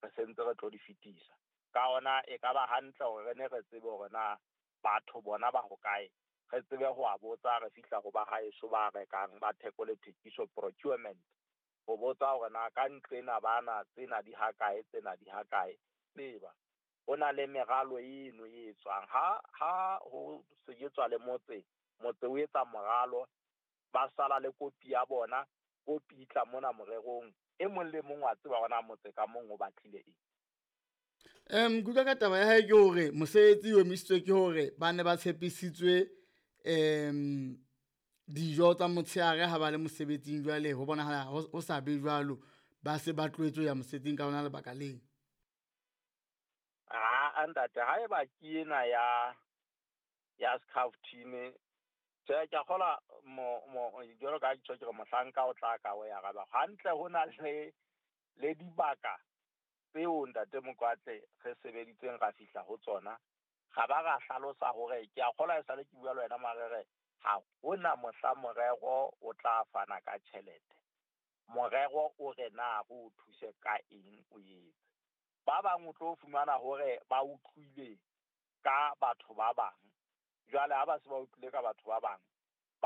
Re sentse re tlo di fetisa. Ka hona e ka ba hantle hore re ne re tsebe hore na batho bona ba hokae, re tsebe ho a botsa re fihla ho ba haeso ba rekang ba theko le thekiso, procurement, ho botsa hore na ka nqena bana tsena di hakae, tsena di hakae. Tseba ho na le meralo eno e etswang ha ho sebetswa le motse. Motse o etsa moralo, ba sala le kopi ya bona, kopi e tla mona morerong, e mong le mong wa tseba hore na motse ka mong o batlile eng. Kutlwa ka taba ya hae ke hore mosebetsi o emisitswe ke hore ba ne ba tshepisitswe dijo tsa motshehare ha ba le mosebetsing, jwale ho bonahala ho sa be jwalo, ba se ba tlohetse ho ya mosebetsing ka lona lebaka leo. Aa ntate, haeba ke ena ya Skhaftin, tjhe, ke a kgolwa mo jwalo ka tjho, ke re mohlanka o tla ka o ya araba hantle. Ho na le dibaka tseo, ntate Mokwatle, re sebeditseng ra fihla ho tsona, ra ba ra hlalosa hore ke a kgolwa esale ke bua le wena marere, ha hona mohla morero o tla fana ka tjhelete. Morero o re na re o thuse ka eng, o etse. Ba bang o tlo fumana hore ba utlwile ka batho ba bang, jwale ha ba se ba utlwile ka batho ba bang.